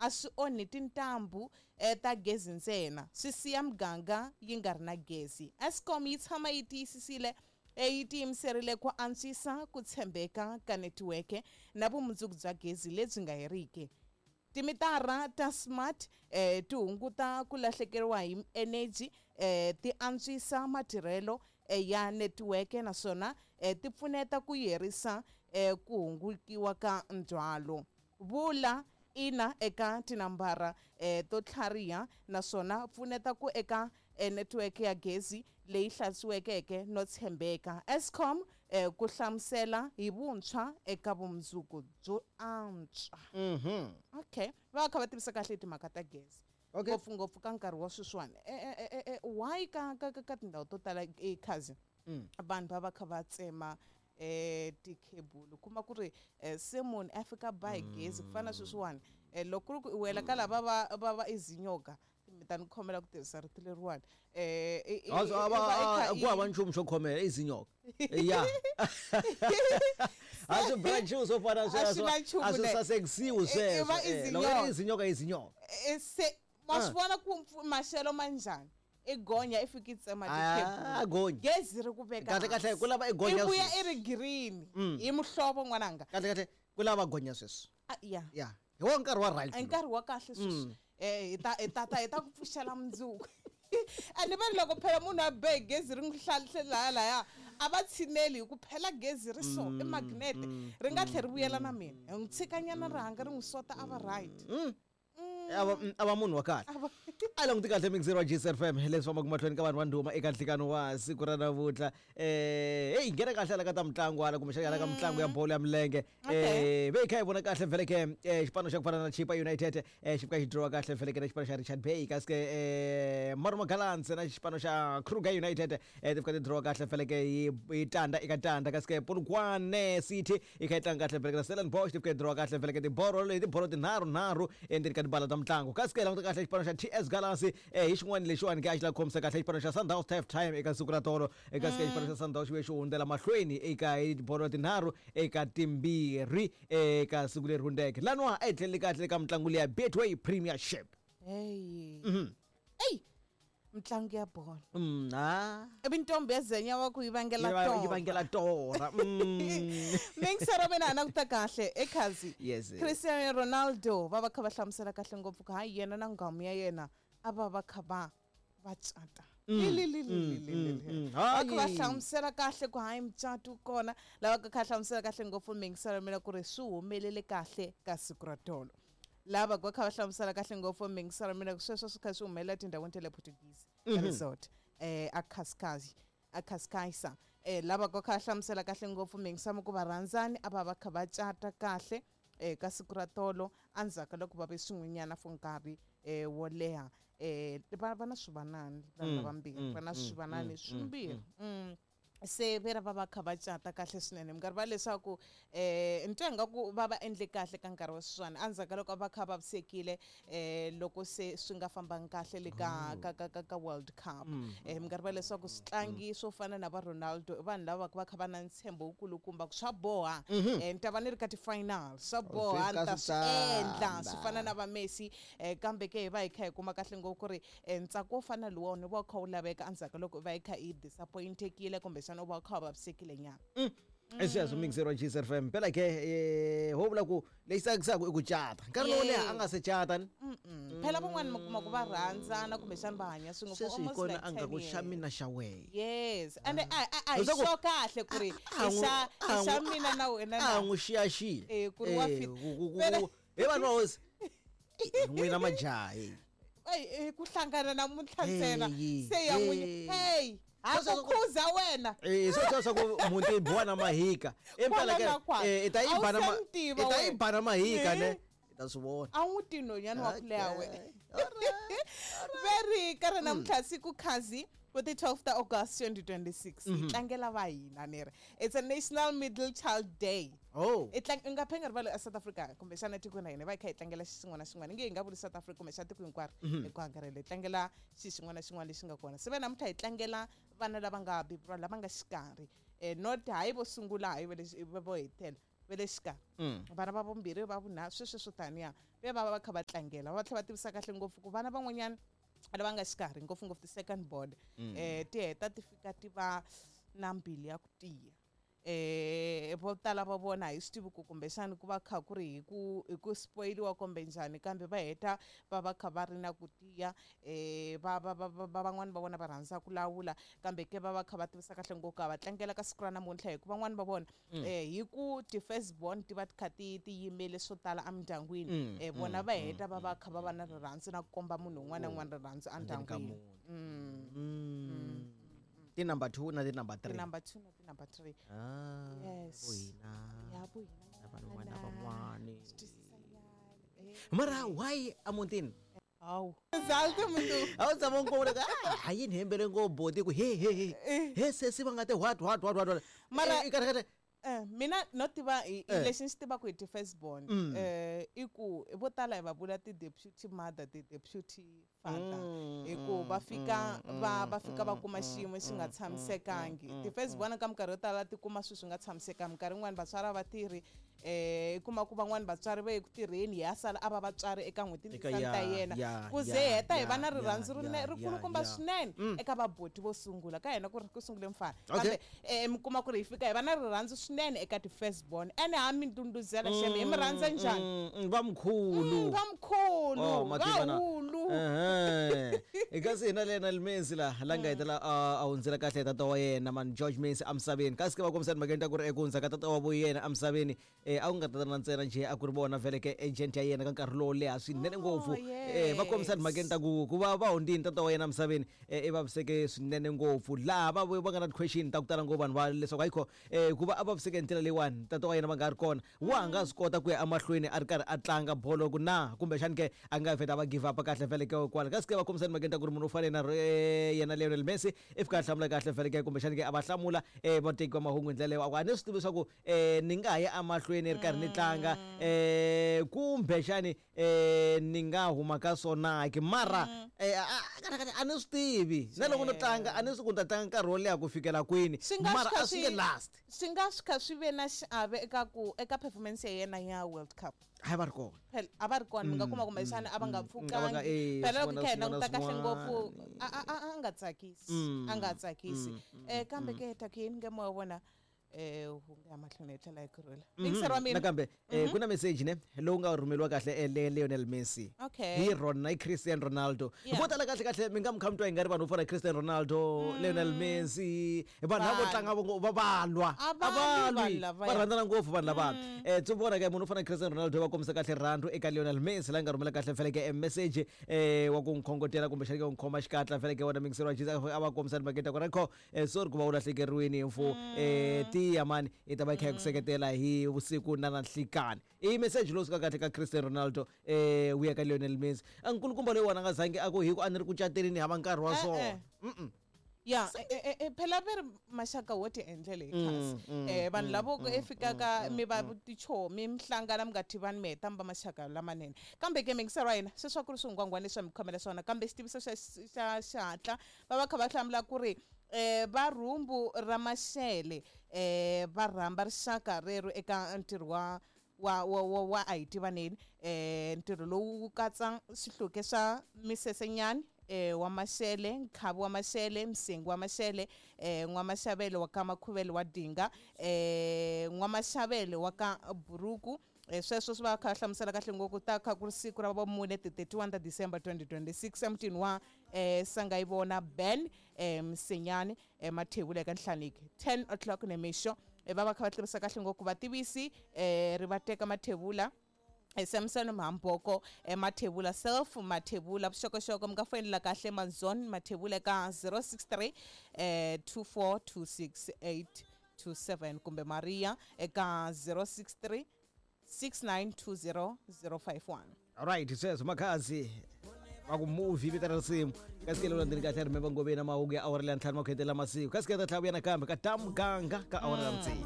a swi onhi tintambu ta gezi ntsena, swi siya miganga yi nga ri na gezi. Eskom yi tshama yi tiyisisile yi tiyimiserile ku antswisa ku tshembeka ka netiweke na vumundzuku bya gezi lebyi nga heriki. Timitara ta smart ti hunguta ku lahlekeriwa hi eneji, ti antswisa matirhelo ya netiweke naswona ti pfuneta ku herisa ku hungutiwa ka ndzhwalo. Vula ina eka tinambara to tlhariha naswona pfuneta ku eka netiweke ya gezi leyi hlantswiwekeke no tshembeka. Eskom ku hlamusela hi vuntshwa eka vumundzuku byo antswa. Okay, va va kha va tivisa kahle hi timhaka ta gezi. Okay. Ngopfungopfu ka nkarhi wa sweswiwani. Why ka ka ka ka tindhawu to tala khazi vanhu va va kha va tsema tikhebulu, kuma ku ri se munhu a fika ba hi gezi ku fana na sweswiwani, loko ku ri ku i wela ka lava va izinyoka, mi ta ni khomela ku tirhisa rito leriwani, ku hava nchumu xo khomela, izinyoka ya a swi branchiwi swo fana sweswo, a swi sasekisiwi sweswo. Loko i izinyoka, izinyoka. Se ma swi vona ku maxelo ma njhani, i gonya i fika i tsema tikhebulu, gezi ri ku veka kahle kahle ku lava i gonya, i vuya i ri green hi muhlovo n'wananga. Kahle kahle ku lava gonya sweswi. Ya ya, hi wa nkarhi wa right, nkarhi wa kahle sweswi. Hi ta ku pfuxela mundzuku. A ni vani loko phela munhu a be gezi ri n'wi hlaya laya, a va tshineli hi ku phela gezi ri so i magnet, ri nga tlhela ri vuyela na mina. Hi n'wi tshikanyana ri hanga ri n'wi sota, a va right. A va munhu wa kahle, a languti kahle. Mixer wa GCFM, leswi fambaka mahlweni ka vanhu va ndhuma eka nhlikano wa siku ra namuntlha. Heyi, nghena kahle hala ka ta mitlangu hala, kumbexana hala ka mitlangu ya bolo ya milenge. Ve hi kha hi vona kahle vhele ke xipano xa ku fana na Chipa United xi fika xi dirowa kahle vhele ke na xipano xa Richard Bay, kasi ke Marumo Gallants na xipano xa Kruger United ti fika ti dirowa kahle vhele ke hi 0-0, kasi ke Polokwane City yi kha yi tlanga kahle vhele ke na Stellenbosch, ti fika yi dirowa kahle vhele ke tibolo leti, tibolo tinharhu-nharhu endzeni ka tibala ta mitlangu. Kasi ke languta kahle xipano xa TS Galaxy hi xin'wana lexiwani ke a xi lava khomisa kahle xipano xa Sundowns half time eka siku ra tolo, kasi ke xipano xa Sundowns xi vuye xi hundzela mahlweni eka hi tibolo 3-2 eka siku leri hundzeke. Laniwa a hi tlheleli kahle ka mitlangu leya Betway Premiership. Hey, eyi, mitlangu ya bolo. Ha. Ivi ntombi ya zenya wa ku yi vangela yi vangela torha. Mingisero mina a languta kahle ekhazi. Yes. Cristiano Ronaldo va va kha va hlamusela kahle ngopfu ku hayi, yena na nghamu ya yena a va va kha va cata. Va kha va hlamusela kahle ku hayi, mucato wu kona lava kha hlamusela kahle ngopfu mingiselo mina ku ri swi humelele kahle ka siku ra tolo. Lava va kha va hlamusela kahle ngopfu mingiselo mina ku sweswo swi kha swi humelela tindhawini ta le Portuguese Resort a Cascais, a Cascais. Lava va kha va hlamusela kahle ngopfu mingisamo ku varhandzani a va va kha va cata kahle ka siku ra tolo endzhaku ka loko va ve swin'wenyana for nkarhi wo leha. Va na swivanani vanhu lavambirhi, va na swivanani swimbirhi. Se ve ra va va kha va cata kahle swinene minkarhi va leswaku ni twa ingaku va va endle kahle ka nkarhi wa sweswiwani endzhaku ka loko va kha va vavisekile, loko se swi nga fambangi kahle le ka World Cup. Minkarhi va leswaku switlangi swo fana na va Ronaldo i vanhu lava va kha va na ntshembo wukulukumba ku swa boha, ni ta va ni ri ka ti-final, swa boha ni ta swi endla, swi fana na va Messi. Kambe ke hi va hi kha hi kuma kahle ngopfu ku ri ntsako wo fana luwani wu va wu kha wu laveka endzhaku ka loko u va hi kha i disappointekile, kumbexana u va u kha u vavisekile nyana. I sweswo, mixer wa GCFM. Phela ke ho vula ku lexi tsakisaka i ku cata nkarhi lowo leha a nga se cata ni. Phela van'wani mi kuma ku va rhandzana, kumbexana va hanya swin'we for sweswi hi almost kona like a nga 10 ku xa years. Mina xa wehe. Yes, and a hi Leswaku- sure kahle ku ri i xa i xa mina na wena a na n'wi xiyaxiya. Ku ri wa fit. Hi vanhu va hosi n'wina majaha. Ey, ku hlangana namuntlha ntsena Hey, se ya n'wi hey. hey, ha ku khuza wena. Swo swa ku muti yi biwa na mahika impela ke. Kwala na kwala. I ta yi A wu ba na se ni tiva i ta yi wena. ba na mahika ne, i ta swi vona. A wu ti nhonyana wa ku leha wena. Veri ka ri namuntlha siku khazi ku ti 12 ta August 2026, hi tlangela va hina ni ri it's a National Middle Child Day. Oh. I nga phe nga rivali a South Africa, kumbexana tikweni ra hina va hi kha hi tlangela xi xin'wana na xin'wana, nge hi nga vuli South Africa, kumbexana tiko hinkwaro hi ku angarhela hi tlangela xi xin'wana na xin'wana lexi nga kona. Se va namuntlha hi tlangela vana lava nga beburiwa lava nga xikarhi, not hayi vo sungula, hayi va lexi vo hetela. Va le xikarhi, vana va vumbirhi, va vunharhu, sweswo swo taniya, ve va va kha va tlangela, va tlhela va tivisa kahle ngopfu ku vana van'wanyana lava nga xikarhi, ngopfungopfu ti-second born, ti heta ti fika ti va na mbilu ya ku tiya. Vo tala va vona hi swi tivi ku kumbexani ku va kha ku ri hi ku spoiliwa kumbe njhani, kambe va heta va va kha va ri na ku tiya. Va va va va van'wani va vona va rhandza ku lawula, kambe ke va va kha va tivisa kahle ngopfu va tlangela ka siku ra namuntlha, hi ku van'wani va vona hi ku ti-first born ti va ti kha ti yimele swo tala emindyangwini. Vona va heta va va kha va va na rirhandzu na ku komba munhu un'wana na un'wana rirhandzu Endzeni ka endyangwini. Muti. Ti-number 2 na ti-number 3. Ti-number 2 na ti-number 3. Ah, Yes. vohina Ya vohina. Na vanhu van'wana van'wani. Swi twisisanyana. Mara why emutini? Hawu zalti muntu. A wu tshama u nkova ka ha yini hembele ngopfu boti ku he he he he sesi va nga te what what what what what. Mara- I kahle kahle. Mina no tiva hi lexi ni xi tivaka hi ti-first born, i ku vo tala hi va vula ti-deputy mother, ti-deputy father, hi ku va fika va fika va kuma xiyimo xi nga tshamisekangi. Ti-first born ka minkarhi yo tala ti kuma swilo swi nga tshamisekangi. Minkarhi yin'wani vatswari a va tirhi, i kuma ku van'wani vatswari va ye ku tirheni, hi ya sala a va vatswari eka n'hweti Eka ndzisani ta yena, ku ze heta hi va na rirhandzu rikulukumba swinene eka vaboti vo sungula ka hina, ku ri ku sungule mfana. Kambe mi kuma ku ri hi fika hi va na rirhandzu swinene eka ti-first born, ene ha mi ndunduzela xeme, hi mi rhandza njhani. Vamkhulu. Vamkhulu. Oh, mativa na. Vahulu. Ehe. Kasi hina Lionel Messi la nga hetelela a hundzela kahle tata wa yena man George Messi emisaveni, kasi ke va kombisa timhakeni ta ku ri eku hundza ka tata wa vo yena emisaveni, a ku nga tatana ntsena njhe, a ku ri vona vhele ke agent ya yena ka nkarhi lowo leha swinene ngopfu. Va kombisa timhakeni ta ku va va hundzini tata wa yena emisaveni, i vaviseke swinene ngopfu, laha va nga na ti-question ta ku tala ngopfu vanhu va leswaku ayikho ku va a vaviseke hi ndlela leyiwani, tata wa yena va nga ri kona, wa ha nga swi kota ku ya emahlweni a ri karhi a tlanga bolo ku na, kumbexani ke a nga vheta va give up kahle vhele ke kwala. Kasi ke va kombisa timhakeni ta ku ri munhu u fane na yena Lionel Messi i fika a hlamula kahle vhele ke, kumbexani ke a va hlamula vateki va mahungu hi ndlela leyo, a ku a ni swi tivi leswaku ni nga ha ya emahlweni ri karhi ni tlanga kumbexani ni nga huma ka swona ke, mara kahle kahle a ni swi tivi na loko no tlanga, a ni swi ku ni ta tlanga nkarhi wo leha ku fikela kwini, Swi nga mara swi kha a swi nge last. Swi nga swi kha swi ve na xiave eka performance ya yena ya World Cup. Hayi, va ri kona. Phela a va ri kona, mi nga kuma kumbexana a va nga a va nga- pfukangi. Phela loko swin'wana kha hi swin'wana languta kahle ngopfu, swin'wana. a nga tsakisi, a nga tsakisi. Kambe ke ta ku yini nge moya wa vona wu nga ya mahlweni hi tlhela hi kurhula yingiseri wa mina. Nakambe ku na message ne lowu nga rhumeriwa kahle Lionel Messi hi rona hi Cristiano Ronaldo. Vo tala kahle kahle mi nga mi kha mi twa hi nga ri vanhu vo fana na Cristiano Ronaldo, Lionel Messi, vanhu lava vo Vanhu. tlanga va va lwa. A va A va lwi lwi. Vanhu lavaya. Va rhandzana ngopfu vanhu lava. Tso vona ka munhu u fana na Cristiano Ronaldo va kombisa kahle rirhandzu eka Lionel Messi, la nga rhumela kahle feleke e message wa ku n'wi khongotela kumbexana ke ku n'wi khoma xikatla feleke wona mingiseri wa Jesus, a va kombisa timhakeni ta ku ri kho sorry ku va u lahlekeriwini hi mfu, tiya mani, i ta va i kha hi ku seketela hi vusiku na nhlikani. I message lowu suka kahle ka Cristiano Ronaldo wu ya ka Lionel Messi. A nkulukumba loyiwani a nga zangi a ku hi ku a ni ri ku cateni ni hava nkarhi wa swona. Ya, phela ve ri maxaka wo ti endlele hi khasi. Vanhu lavo ku e fikaka mi va tichomi, mi hlangana mi nga tivani, mi heta mi va maxaka lamanene. Kambe ke mingiseri wa hina, sweswi a ku ri swingwangwani leswi a mi khomela swona, kambe xitiviso xa xihatla, va va kha va hlamula ku ri va rhumbu ra Maxele va rhamba rixaka rero eka ntirho wa a hi tivaneni. Ntirho lowu wu katsa swihluke swa misesenyani wa Maxele, Nkhavi wa Maxele, Msengi wa Maxele, N'wamaxavelo wa ka Makhuvele wa Dinga, N'wamaxavelo wa ka Buruku. Sweswo swi va kha hlamusela kahle ngopfu ta kha ku ri siku ra vumune, ti 31 ta December 2026, emutini wa Sangayivona Ben Msenyani, Mathebula eka Nhlaniki, 10 o'clock nemixo. Va va kha va tivisa kahle ngopfu vativisi ri va teka Mathebula, Samson Mhamboko, Mathebula, self Mathebula. Vuxokoxoko mi nga foyinela kahle Manzon Mathebula eka 063 2426827 kumbe Maria eka 063 6920 051. Alright, sweswo makhazi va ku movie vito ra risimu, kasi ke leyi landzeni kahle remember ngoveni na mahungu ya awara leya ntlhanu makhetela masiku, kasi ke ta tlhela vuya nakambe ka ta muganga ka awara ya tsevu.